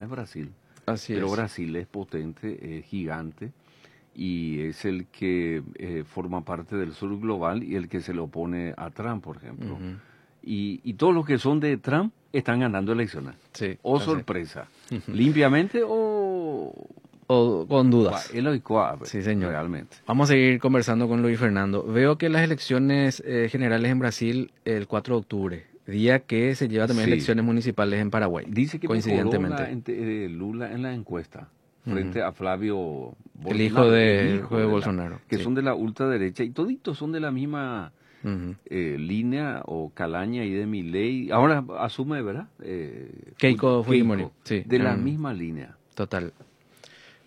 Es Brasil. Así Pero es. Brasil es potente, es gigante y es el que forma parte del sur global y el que se le opone a Trump, por ejemplo. Y todos los que son de Trump están ganando elecciones. Sí, O así es. sorpresa. Limpiamente o... O con dudas. Ba, el oicoa, pues, Sí, señor. Realmente. Vamos a seguir conversando con Luis Fernando. Veo que las elecciones generales en Brasil el 4 de octubre, día que se lleva también elecciones municipales en Paraguay. Dice que mejoró coincidentemente. Lula en la encuesta frente a Flavio El hijo Bolsonaro, de, el el hijo hijo de de la, Bolsonaro, que sí. son de la ultraderecha y toditos son de la misma línea o calaña y de Milei. Ahora asume, ¿verdad? Keiko Fujimori, Keiko, sí. De la misma línea. Total.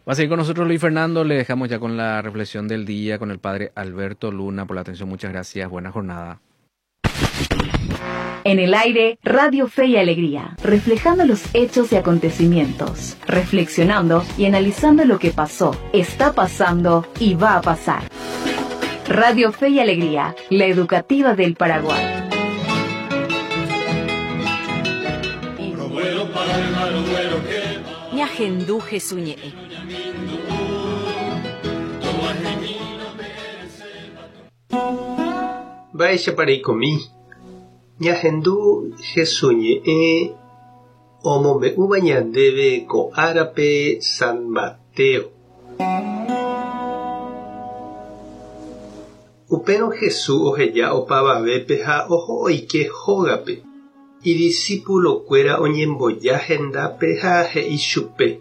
Va a seguir con nosotros Luis Fernando. Le dejamos ya con la reflexión del día con el padre Alberto Luna. Por la atención, muchas gracias. Buena jornada. En el aire, Radio Fe y Alegría, reflejando los hechos y acontecimientos, reflexionando y analizando lo que pasó, está pasando y va a pasar. Radio Fe y Alegría, la educativa del Paraguay. Ñahendú Jesuñe. Mba'éichapa reikomi. Ñahendu Jesús ñe'ẽ omombe'úva ñandéve ko árape San Mateo. Upérõ Jesús oheja opavavépe ha oho oike hógape. Idiscipulokuéra oñemboja hendápe ha he'i chupe.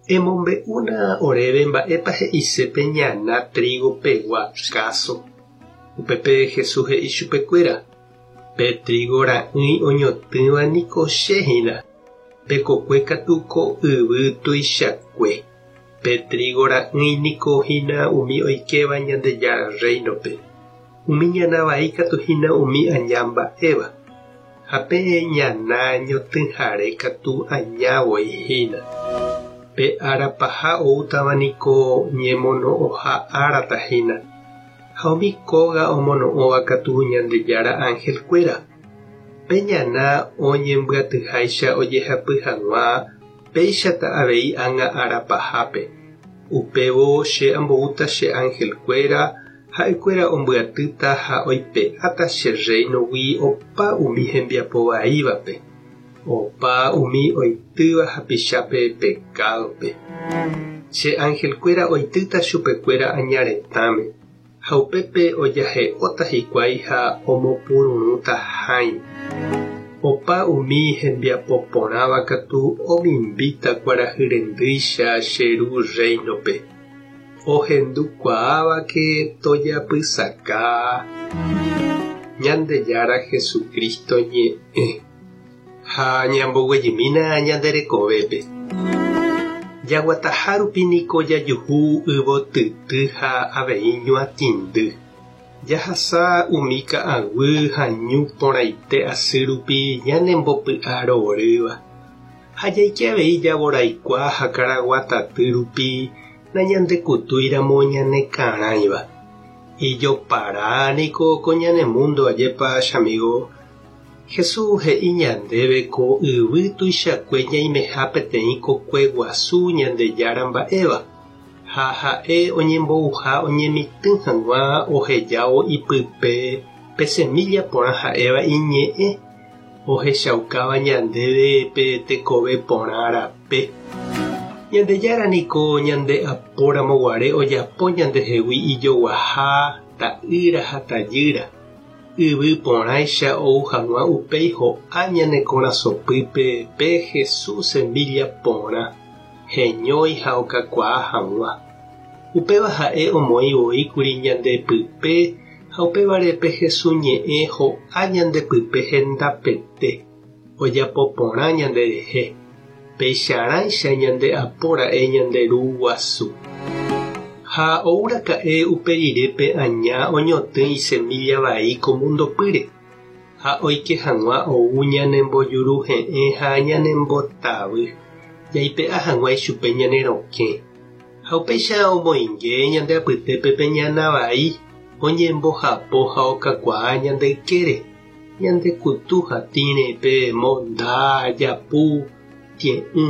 Emombe'úna oréve mba'épa he'ise pe ñana trigo pegua káso. Upépe Jesús he'i chupekuéra. Pe trigo ra'ỹi oñotỹva niko che hína. Pe kokue katu ko yvy tuichakue. Pe trigo ra'ỹi niko hína umi oikéva Ñandejára reino-pe. Umi ñana vai katu hína umi aña mba'éva. Ha pe ñana ñotỹhare katu aña voi hína. Pe ára paha oútava niko ñemono'õha árata hína. Ha umi kóga omono'õva katu Ñandejára angelkuéra. Pe ñana oñembyatyháicha ojehapy hag̃ua péichata avei ág̃a ára pahápe. Upévo che amboúta che angelkuéra ha'ekuéra ombyatýta ha oipe'áta che reino-gui opa umi hembiapovaívape, opa umi oitýva hapichápe pecado-pe. Che angelkuéra oitýta chupekuéra añaretãme ha upépe ojahe'óta hikuái ha omopururũta hãi. Opa umi hembiapoporãva katu omimbíta kuarahyrendýicha che ru reino-pe. Ohendukuaávake tojapysaka Ñandejára Jesucristo ñe'ẽ ha ñamboguejymína ñande rekovépe. Jaguataha rupi niko jajuhu yvotyty ha avei ñuatĩndy. Jahasa umi ka'aguy ha ñu porãite asy rupi ñanembopy'arorýva. Ha jaike avei javoraikua ha karaguataty rupi nañandekutúiramo ñanekarãiva. Ijopara niko ko ñane mundo ajépa chamigo. Jesús he'i ñandéve ko yvy tuichakue ñaimeha peteĩ kokue guasu Ñandejára mba'éva. Ha ha'e oñembouha oñemitỹ hag̃ua ohejávo ipype pe semilla porã ha'éva iñe'ẽ ohechaukáva ñandéve pe tekove porã rape. Ñandejára niko ñande apóramo guare ojapo ñandehegui ijoguaha, ta'ýra ha tajýra. Yvy porãicha ou hag̃ua upéi ho'a ñane korasõpýpe pe Jesús semilla porã, heñói ha okakuaa hag̃ua. Upéva ha'e omoĩ voíkuri ñandepype ha upévare pe Jesús ñe'ẽ ho'a ñandepype hendapete, ojapo porã ñanderehe. Peicharãicha ñande apóra'e ñande ru guasu. Ha ouraka'e upe rirépe aña oñotỹ isemilla vai ko mundopýre. Ha oike hag̃ua ou ñanembojuruhe'ẽ ha ñanembotavy. Jaipe'a hag̃ua ichupe ñane rokẽ. Ha upéicha omoinge ñande apytépe pe ñana vai oñembohapo ha okakuaa ñande ykére. Ñande kutu hatĩre pe monda, japu, tie'ỹ.